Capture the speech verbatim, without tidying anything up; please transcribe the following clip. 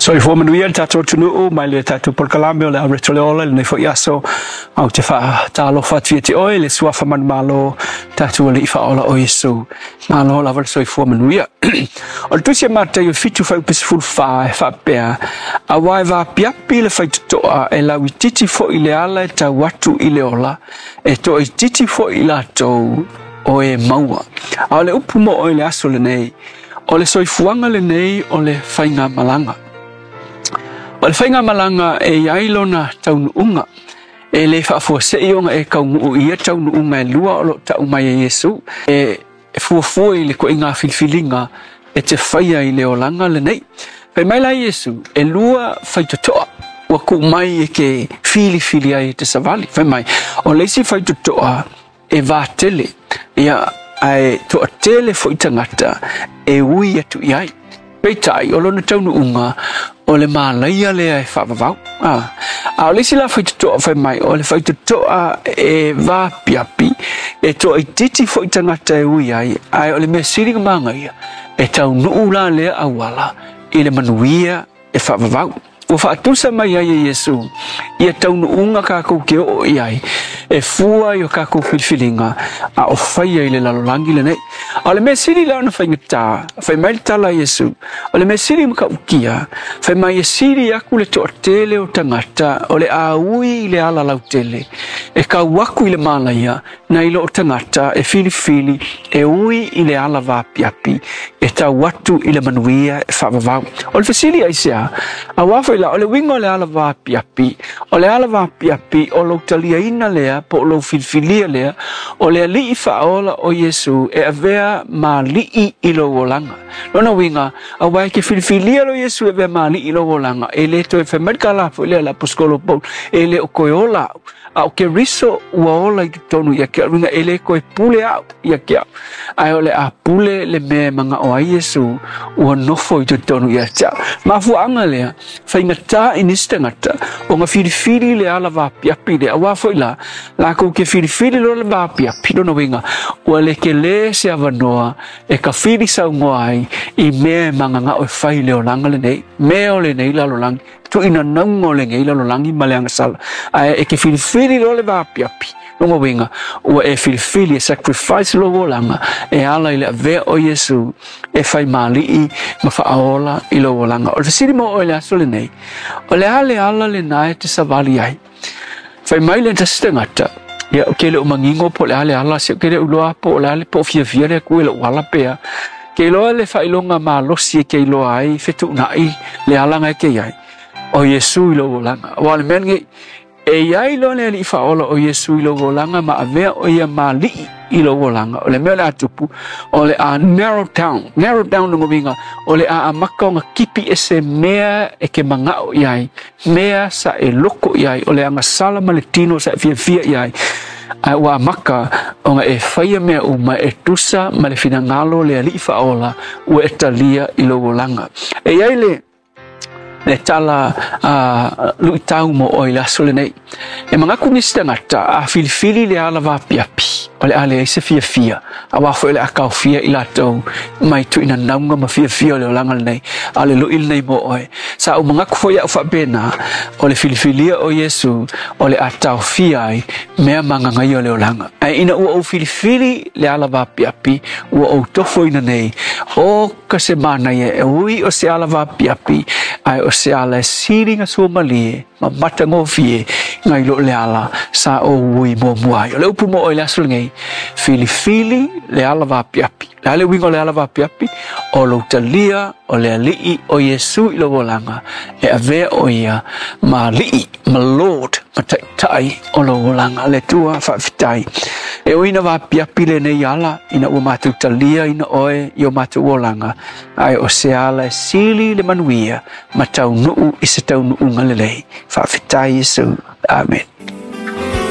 Soifua manuia le tatou atunuu mai le tatou polokalame o le Aureto le Ola lenei foi aso au te faatalofa atu ia te oe le suafa manumalo tatou Alii faaola o Iesu. Malo lava le soifua manuia. O le tusi a Mataio fitu fuaiupu sefulu fa e faapea, auā e vaapiapi le faitotoa e lauititi foi le ala e tau atu i le ola, e toaitiiti foi i latou o e maua. A o le upu mo oe le aso lenei, o le soifuaga lenei o le faigamalaga. O le faigamalaga e iai lona taunuuga, e le faafuasei ona e kaunuu i ia taunuuga e lua o loo tau mai e Iesu, e fuafua i le koiga filifiliga e te faia i le olaga lenei. Fai mai la Iesu, e lua faitotoa ua tuu mai e ke filifili ai e te savali. Fai mai, o le isi faitotoa e vatele, ia ae toatele foi tagata e ui atu i ai. Peitai, o lona taunuuga o le malaia lea e faavavau. Ah. A o le isi la faitotoa fai mai, o le faitotoa e vaapiapi, e toaitiiti foi tagata e ui ai, ae o le mea sili ona magaia, e taunuu la lea auala i le manuia e faavavau. Ua faatusa mai ai e Iesu ia taunuuga kākou ke oo i ai, e fua i o kākou filifiliga a o faia i le lalolagi lenei. A o le mea sili la ona faigata, fai mai le tala a Iesu, o le mea sili matautia, fai mai e sili aku le toatele o tagata o le a ui i le ala lautele, e kau aku i le malaia, nai lo o tagata e filifili e ui i le ala vaapiapi, e tau atu i le manuia e faavavau. O le fesili aisea, auā foi la, o le uiga o le ala vaapiapi, o le ala vaapiapi o lou taliaina lea, po o lou filifilia lea, o le Alii faaola o Iesu e avea ma alii i lou olaga. Lona uiga, auā e ke filifilia lo Iesu e avea ma alii i lou olaga, e le toe fai mai le tala foi lea le aposetolo Paulo, e le o toe ola au, a o Keriso ua ola i totonu ia te au, uiga e le toe pule au ia te au, ae o le a pule le mea e manao ai Iesu ua nofo i totonu ia te au. Mafuaaga lea, faigata i nisi tagata ona filifili le ala vaapiapi lea, auā foi la, lakou ke filifili loa le vaapiapi, lona uiga, ua le tele se avanoa e kafili saunoa ai i mea e magagao e fai i le olaga lenei, mea o lenei lalolagi, tuuinanauga o lenei lalolagi ma le agasala. Ae e ke filifili loa le vaapiapi, lona uiga, ua e filifili e sacrifice lou olaga e ala i le avea o Iesu e fai malii ma faaola i lou olaga. O le fesili mo oe le aso lenei, o le a le ala lena e te savali ai? Fai mai le tasi tagata, ia o ke le o manino po o le a le ala, se o ke le iloa po o le a le po o fiafia le Atua i lou ala pea. Ke iloa le faailoga malosi e ke iloa ai fetuunai le alaga e ke iai o Iesu i lou olaga. Auā o le mea lenei, e iai loa le Alii faaola o Iesu i lou olaga ma avea o ia ma alii i lou olaga, o le mea o le a tupu, o le a narrow down, narrow down lona uiga, o le a amata ona kipi ese mea e ke manao i ai, mea sa e loko i ai, o le agasala ma le tino sa e fiafia i ai, ae ua amata ona e faia mea uma e tusa ma le finagalo o le Alii faaola ua e talia i lou olaga. E iai le le tala a luitau mo oe i le aso lenei. E manatu nisi tagata a filifili le ala vaapiapi, o le a leai se fiafia, auā foi o le a taofia i latou mai tuuinanauga ma fiafia o le olaga lenei, a o le lui lenei mo oe. Sa ou manatu foi au faapena, o le filifilia o Iesu o le a taofia ai mea magagaia o le olaga. Ae ina ua ou filifili le ala vaapiapi, ua ou tofoina nei, o ka se manaia e ui o se ala vaapiapi, ae o se ala e sili ona suamalie ma matagofie nai lo le ala sa ou ui muamua ai. O le upu mo oe le aso lenei, filifili le ala vaapiapi. Le a le uiga o le ala vaapiapi, o lou talia o le Alii o Iesu i lou olaga, e avea o ia ma alii, ma Lord, ma taitai o lou olaga. Le Atua faafetai. E ui ina vaapiapi lenei ala, ina ua matou talia ina oe i o matou olaga, ae o se ala e sili le manuia ma taunuu i se taunuuga lelei. Faafetai Iesu. Amen.